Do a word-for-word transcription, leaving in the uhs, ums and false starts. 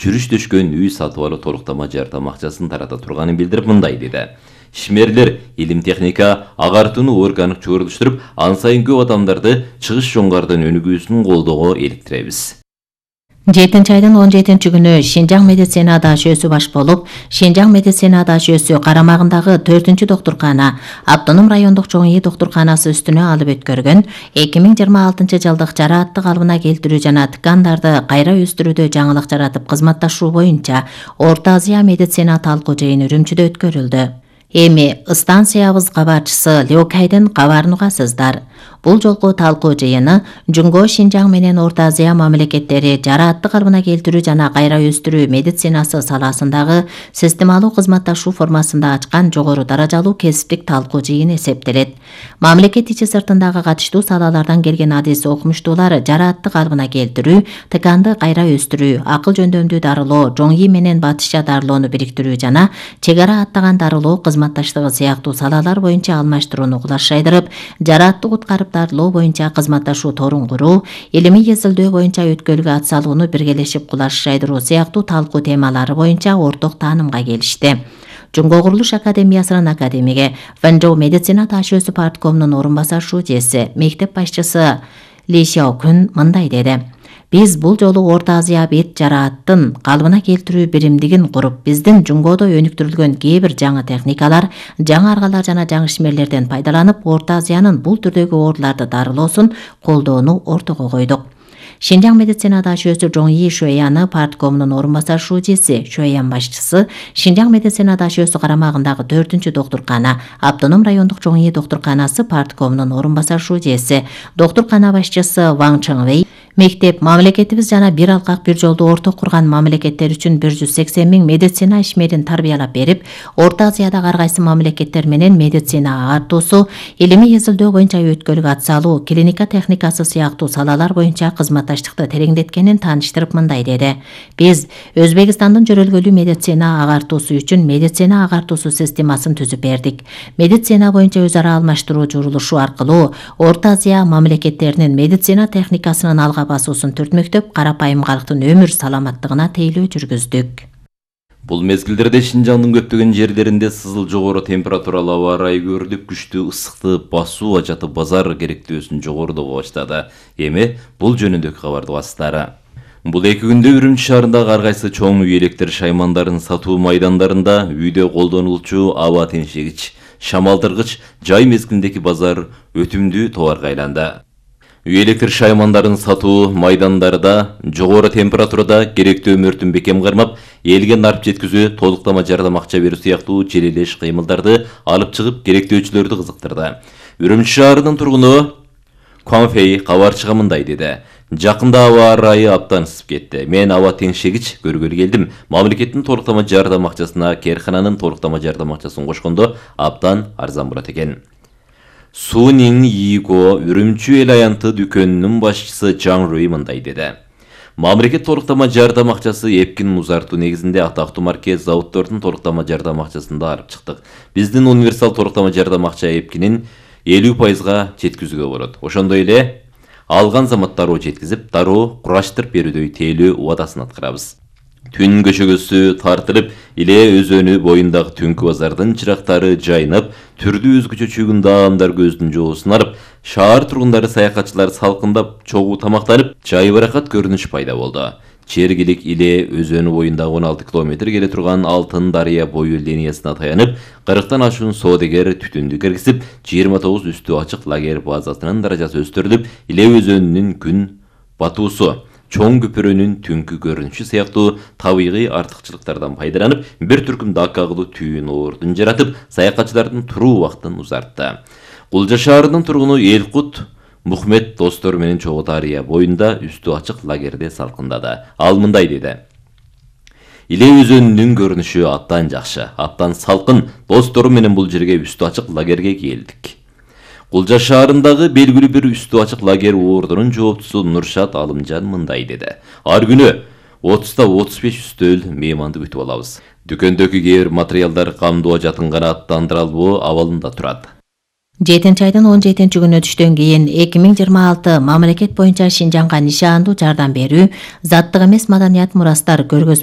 жүрүштөшкөн үй сатып алуу толуктама жардам акчасын тарата турганын билдирип мындай деди. Ишмерлер илим техника агартууну органик чогулуштуруп, ан сайын көп адамдарды чыгыш жоңгардын өнүгүүсүн колдоого иликтиребиз. жетинчи айдын он жетинчи күнү Шинжаң медицина дашөөсү баш болуп, Шинжаң медицина дашөөсү карамагындагы төртүнчү доктуркана Автоном райондук чоң үй доктурканасы үстүнө алып өткөргөн эки миң жыйырма алтынчы жылдык жараатты калыбына келтирүү жана ткандарды кайра өстүрүүдө жаңылык жаратып кызматташуу боюнча Орто Азия медицина талкуу жыйыны Үрүмчүдө өткөрүлдү. Эми станциябыз кабарчысы Леокайдын кабарын угасыздар. Бул жолку талкуу жыйыны Жунго Шинжаң менен Орто Азия мамлекеттери жараатты калыбына келтирүү жана кайра өстүрүү медицинасы саласындагы системалуу кызматташуу формасында ачкан жогору даражалуу кесиптик талкуу жыйын эсептелет. Мамлекет ичи сыртындагы катыштуу салалардан келген адис окумуштуулар жараатты калыбына келтирүү, тканды кайра өстүрүү, акыл жөндөмдүү дарылоо, жоң ий менен батышча дарылоону бириктирүү жана чек ара аттаган дарылоо кызматташтыгы сыяктуу салалар боюнча алмаштырууну кулаш жайдырып, жараатты куткарып дарылоо боюнча кызматташуу торун куруу, илимий изилдөө боюнча өткөлгө ат салууну биргелешип кулаш жайдыруу сыяктуу талкуу темалары боюнча орток таанымга келишти. Жунго курулуш академиясынын академиги, Вэнжоу медицина дашөөсү парткомунун орун басар шүүжеси, мектеп башчысы Ли Сяокун мындай деди. Биз бул жолу Орто Азия бет жарааттын калыбына келтирүү биримдигин куруп, биздин Жунгодо өнүктүрүлгөн кээ бир жаңы техникалар, жаңы аргалар жана жаңы ишмерлерден пайдаланып, Орто Азиянын бул түрдөгү ооруларды дарылоосун колдоону ортого койдук. Шинжаң медицина дашөөсү Жоң ий Шуэяны парткомунун орун басар шүүжеси, Шуэян башчысы, Шинжаң медицина дашөөсү карамагындагы төртүнчү доктуркана Автоном райондук чоң ий доктурканасы парткомунун орун басар шүүжеси, доктуркана башчысы Ваң Чыңвей, мектеп, мамлекетибиз жана бир алкак бир жолду орток курган мамлекеттер үчүн бир жүз сексен миң медицина ишмерин тарбиялап берип, Орто Азиядагы ар кайсы мамлекеттер менен медицина агартуусу, илимий изилдөө боюнча өткөлгө ат салуу, клиника техникасы сыяктуу салалар боюнча кызматташтыкты тереңдеткенин тааныштырып мындай деди. Биз Өзбекстандын жөрөлгөлүү медицина агартуусу үчүн медицина агартуусу системасын түзүп бердик. Медицина боюнча өз ара алмаштыруу журулушу аркылуу Орто Азия мамлекеттеринин медицина техникасынын алга басуусун түртмөктөп, карапайым калктын өмүр саламаттыгына тейлөө жүргүздүк. Бул мезгилдерде Шинжаңдын көптөгөн жерлеринде сызыл жогору температуралуу аба ырайы көрүлүп, күчтүү ысыкты басуу ажаты базар керектөөсүн жогорулоо баштады. Эми бул жөнүндөгү кабарды бастары. Бул эки күндө Үрүмчү шаарындагы ар кайсы чоң үй электр шаймандарын сатуу майдандарында үйдө колдонулчу аба теңшегич, шамалдыргыч жай мезгилиндеги базар өтүмдүү товарга айланды. Үй электр шаймандарын сатуу майдандарда жогору температурада керектүү өмүртүн бекем кармап, элге нарп жеткизүү, толуктама жардам акча берүү сыяктуу желелеш кыймылдарды алып чыгып, керектөөчүлөрдү кызыктырды. Үрүмчү шаарынын тургуну Конфей кабарчыга мындай деди. Жакында аба ырайы абдан ысып кетти. Мен аба теңшегич көргөлү келдим. Мамлекеттин толуктама жардам акчасына Керкананын толуктама жардам акчасын кошкондо абдан арзан болот экен. Сунин Иго Үрүмчү эл аянты дүкөнүнүн башчысы Жан Руи мындай деди. Мамлекет толуктама жардам акчасы эпкин музартуу негизинде атактуу марке заводдордун толуктама жардам акчасын да алып чыктык. Биздин универсал толуктама жардам акча эпкинин элүү пайызга жеткизүүгө болот. Ошондой эле алган замат дароо жеткизип, дароо кураштырып берүүдөй тейлөө убадасын аткарабыз. Түн көчөгөсү тартылып, Иле өзөнү боюндагы түнкү базардын чырактары жайнап, түрдүү өзгөчө чөгүндө адамдар көздүн жоосун арып, шаар тургундары, саякатчылар салкындап, чогуу тамактанып, жайбаракат көрүнүш пайда болду. Чергилик Иле өзөнү боюндагы он алты километр келе турган Алтын дарыя бою линиясына таянып, кырктан ашуун соодагер түтүндү киргизип, жыйырма тогуз үстү ачык лагерь базасынын даражасы өстүрүлүп, Иле өзөнүнүн күн батуусу, чоң көпүрөнүн түнкү көрүнүшү сыяктуу табигый артыкчылыктардан пайдаланып, бир түркүм дакка кылуу түйүн ордун жаратып, саякатчылардын туруу убактын узартты. Кулжа шаарынын тургуну Элкут Мухмед достору менен чогуу дарыя боюнда үстү ачык лагерде салкындады. Ал мындай деди. Иле өзөнүнүн көрүнүшү абдан жакшы, абдан салкын. Достору менен бул жерге үстү ачык лагерге келдик. Кулжа шаарындагы белгилүү бир үстү ачык лагерь ордунун жооптусу Нуршат Алымжан мындай деди. Ар күнү отузда отуз беш үстөл мейманды күтүп алабыз. Дүкөндөгү кээ бир материалдар камдоо жатын гана аттандыралбоо абалында турат. жетинчи айдын он жетинчи күнү түштөн кийин эки миң жыйырма алты мамлекет боюнча Шинжаңга нишандуу жардам берүү, заттык эмес маданият мурастар көргөзмө